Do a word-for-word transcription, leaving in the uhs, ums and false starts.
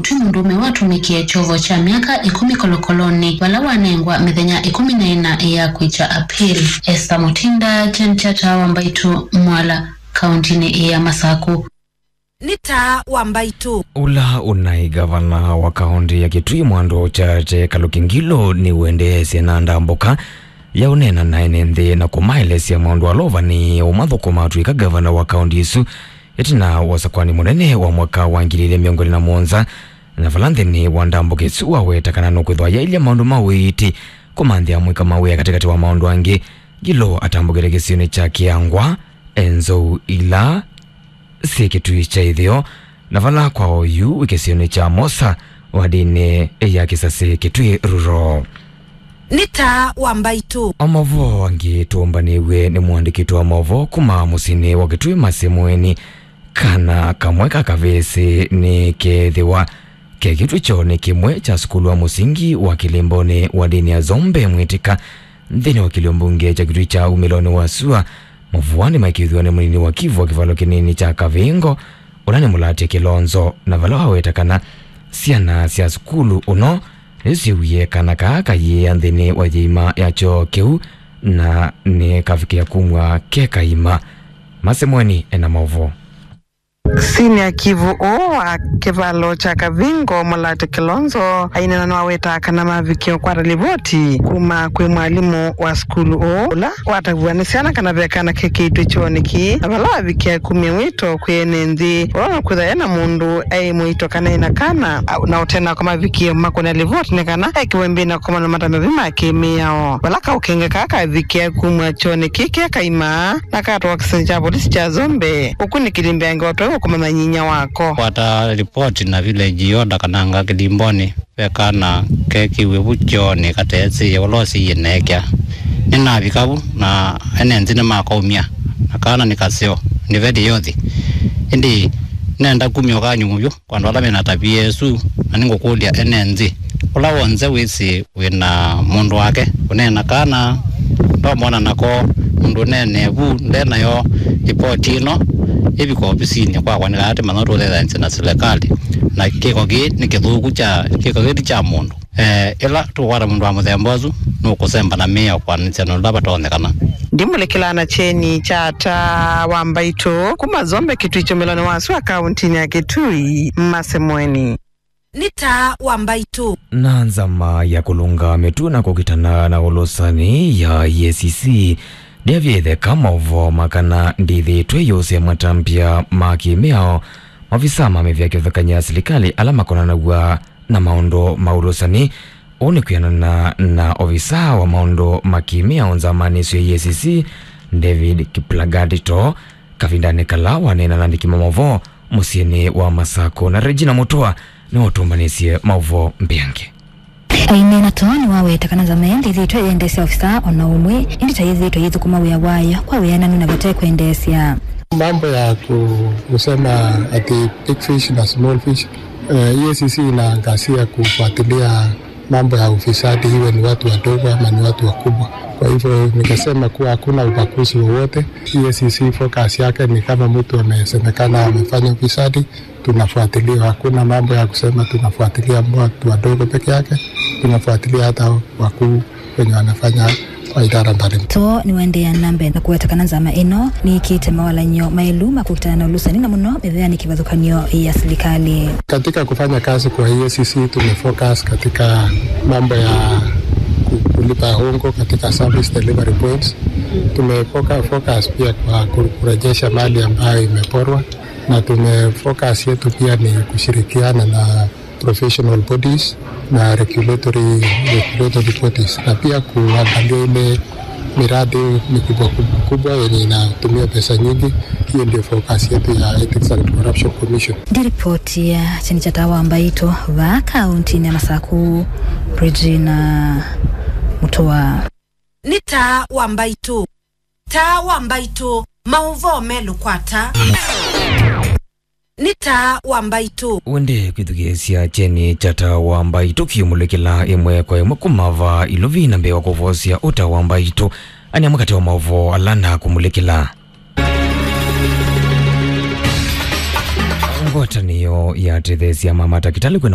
Ti mũndũũme watũmĩkie kyovo kya myaka ĩkũmi kolokolonĩ vala wanengwa mĩthenya ĩkũmi na ĩna ya kwĩkya appeal. Esther Mutinda, Jen Chata wa Mbaitũ, Mwala, kaũntĩnĩ ya Masakũ. Nĩ taa wa Mbaitũ. Ũla ũnaĩ gavana wa kaũntĩ ya Kitui Mwando Chache Kaluki Ngilu nĩwendeesye na ndambũka ya ũneena na ene nthĩ na kũmaelesya maũndũ ala ũvanĩĩe ũmathũkũma atw'ĩka gavana wa kaũntĩ ĩsu ĩtina wa ũsakũani mũnene wa mwaka wa ngili ilĩ mĩongo ĩlĩ na mũonza, na vala nthĩnĩ wa ndambũka ĩsu waweta kana nũkwĩthwa yaĩlya maũndũ ma ũiiti kũmanthĩa amũika ma wĩa katĩkatĩ wa maũndũ angĩ. Ngilu atambũkĩte kĩsionĩ kya Kĩangwa, e nzou ila syĩ Kitui kya ĩtheo, na vala kwa oyu wĩ kĩsionĩ kya Mosa, wadinĩ ya Kisasi, Kitui Rural. Nĩ taa wa Mbaitũ. O mavoo angĩ tũmbanĩw'e nĩ mũandĩki witũ wa mavoo kuma mũsyĩnĩ wa Kitui Masi Mweni. Kana kamwe ka kavĩsĩ nĩkeethĩwa kekĩtwe kyoonĩ kĩmwe kya sukulu wa mũsingi wa Kĩlĩmbonĩ wa ndĩni ya Zombe Mwĩtĩka nthĩnĩ wa kĩlio mbunge kya Kitui kya umĩlonĩ wa sua. Mavũa nĩmaĩkĩĩthw'a nĩ mũnini wa kivu wa kĩvalo kĩnini kya Kavingo, ũla nĩ Mũlatya Kĩlonzo, na vala waweta kana syana sya sukulu ũno nĩsyĩwie kana kaa kayĩĩa nthĩnĩ wa yĩima ya kyoo kĩu, na nĩkavikĩa kumw'a ke kaima. Masi Mweni ena maũvoo. Senior kivu ũũ wa kĩvalo kya Kavingo, Mũlatya Kĩlonzo, aineena nĩwawetaa kana mavikie ũkwata livoti kuma kwĩ mwalimũ wa sukulu ũũ, ũla watavw'a nĩ syana kana ve kana kekĩtwe kyoonĩ kĩĩ, na vala wavikie kumya wĩto kwĩ ene nthĩ, ũla nũkwĩthwa ena mũndũ aĩ mũito kana ena kana, na ũtena kwa mavikie makũna livoti nĩ kana ekĩwe mbĩ na kũkomana na matambya ma kĩmĩao. Vala kaũkenge kaa kavikie kumw'a kyoonĩ kĩĩ ke kaima, nakatwa kĩsini kya volisi kya Zombe, ũkunĩkĩli mbeange watwaĩwe kũmanya nyinya wako. Kwata ripoti na village order kana nga Kĩlĩmbonĩ ve kana kekiwe vu kyoonĩ kateesĩĩe ũla ũsiie neekya. Nĩnavika vu na ene nthĩ nĩmakaumya, na kana nĩ kaseo, nĩ very healthy. Ĩndĩ nenda kumya ũkany'o mũvyũ kwa andũ ala mena tavia ĩsu, na nĩngũkũlya ene nthĩ, ũla w'onthe wĩsĩ wĩ na mũndũ wake ũneena kana ndomona nako mũndũ ũneenee vu nde nayo, livoti ĩno ĩvika ovisinĩ kwakwa nĩ kana tũmanya tũũtethanĩsya na silikalĩ, na kĩko kĩĩ nĩ kĩthũku kya, kĩko kĩĩ ti kya mũndũ. Eh, ĩla tũkwata mũndũ wa mũthemba ũsu, nũkũsemba na mĩao kwanĩsya na ũla vatonyekana. Ndimũlĩkĩlaa na kyeni kya taa wa Mbaitũ kuma Zombe Kitui kyumĩlonĩ wa sua kaũntĩnĩ ya Kitui, Masi Mweni. Nĩ taa wa Mbaitũ. Na nzama ya kũlũnga mĩtũ na kũkitana na ũlũsani ya E A C C ndĩavya ĩtheka maũvoo ma kana ndĩthĩĩtwe ĩyũsya matambya ma kĩmĩao, maovisa ma mĩvĩa kĩvathũkany'o ya silikalĩ ala makonanaw'a na maũndũ ma ũlũsani. Ũũ nĩ kwĩanana na ovisa wa maũndũ ma kĩmĩao nzamanĩ ĩsu ya E A C C, David Kiplagat Too, kavindanĩ kala waneena na andĩki ma maũvoo mũsyĩnĩ wa Masakũ, na Regina Mutua nĩwe ũtũmbanĩsye maũvoo mbeange. Aineena Too nĩwaweta kana nzama ĩĩ ndĩthĩĩtwe ĩendeesya ovisa o na ũmwe, ĩndĩ ta yĩthĩĩtwe yĩthũkũma wĩa wayo kwa wĩananu na vate kwendeesya. Mambo ya ku-, kusema ati big fish na small fish, eh, E A C C inaangazia kufuatilia mambo ya ufisadi, iwe ni watu wadogo ama ni watu wakubwa. Kwa hivyo ningesema kuwa hakuna ubaguzi wowote. E A C C focus yake ni kama mtu amesemekana amefanya ufisadi, tunafuatilia. Hakuna mambo ya kusema tunafuatilia watu wadogo peke yake, tunafuatilia hata wakuu wenye wanafanya kwa idara mbalimbali. Too nĩwaendeea na mbee na kũweta kana nzama ĩno nĩĩkĩĩte mawalany'o maĩlu ma kũkitana na ũlũsani na mũno mĩveanĩ kĩvathũkany'o ya silikalĩ. Katika kufanya kazi kwa E A C C tumefocus katika mambo ya ku-, kulipa hongo katika service delivery points. Tumefocus pia kwa ku-, kurejesha mali ambayo imeporwa, na tumefocus yetu pia ni kushirikiana na professional bodies na regulatory, regulatory bodies, na pia kuangalia ile miradi mikubwa kubwa kubwa yenye inatumia pesa nyingi. Hiyo ndio focus yetu ya Ethics and Corruption Commission. Ndi ripoti ya kyeni kya taa wa Mbaitũ vaa kaũntĩnĩ ya Masakũ, Regina Mutua. Nĩ taa wa Mbaitũ. Taa wa Mbaitũ, maũvoo melũ kwa taa. Nĩ taa wa Mbaitũ. Wende kwĩthukĩĩsya kyeni kya taa wa Mbaitũ kĩũmũlĩkĩla ĩmwe kwa ĩmwe kuma vaa Ilovi na mbee wa kũvosya ũta wa Mbaitũ. Ani amwe katĩ wa maũvoo ala nakũmũlĩkĩla. Ngwatanĩo ya atetheesya ma matakĩtalĩ kwĩna